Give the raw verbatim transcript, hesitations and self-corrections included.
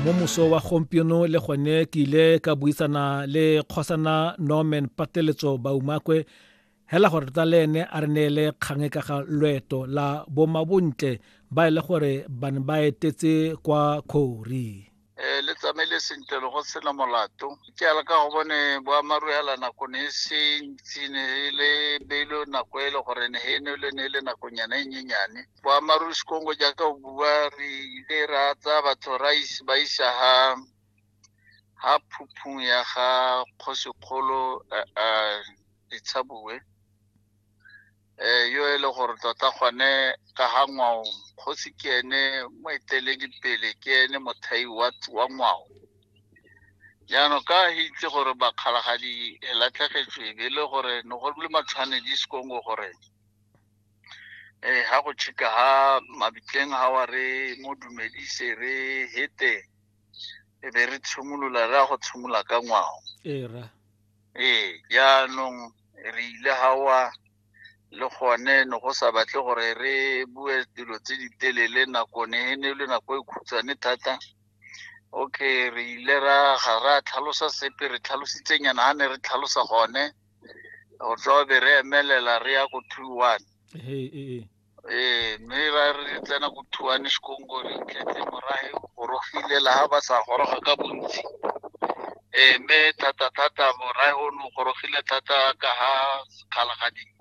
Mo moso wa gompieno le gone ke ile ka buisana le kgosana Norman Pateletso Baumakwe hela gore tota le ene a re neele kgang ka ga loeto la bomabontle ba e le gore ba ne ba etetse kwa Kgori. Eh le tsamaile sentle le go sena molato. Ke ala ka go bone boammaaruri hela nako ne e se ntsi, ne e le beilwe nako e le gore ne e ne le ne e le nakonyana e nyenyane. Boammaaruri Sekongo jaaka o bua, re ile ra tsaya batho ra is-, ba isa ha, ha phuphung ya ga kgosikgolo, eh, eh, Ditshabuwe. Eh, yo e le gore tota gone ka ga ngwao, kgosi ke ene moeteledipele, ke ene mothai wa, wa ngwao. Jaanong ka itse gore bakgalagadi e latlhegetswe, e be e le gore ne go le matshwanedi Sekongo gore, eh, ha go tšhika ha mabitleng ha wa re mo dumedise re hete, e be re tshimolola, re ya go tshimola ka ngwao. Ee, rra. Ee, jaanong re ile ha wa le gone ne go sa batle gore re bue dilo tse di telele, nako ne e ne le nako e khutshwane thata. Okay, re ile ra ga ra tlhalosa sepe, re tlhalositsenyana ha ne re tlhalosa gone, go tswa be re emelela re ya ko two one. Ee, ee, ee. Ee, mme ra re tsena ko two one Sekongo, re tletse morahe o gorogile la ha ba sa goroga ka bontsi. Ee, mme thata-thata morahe o ne o gorogile thata ka ha Kgalagadi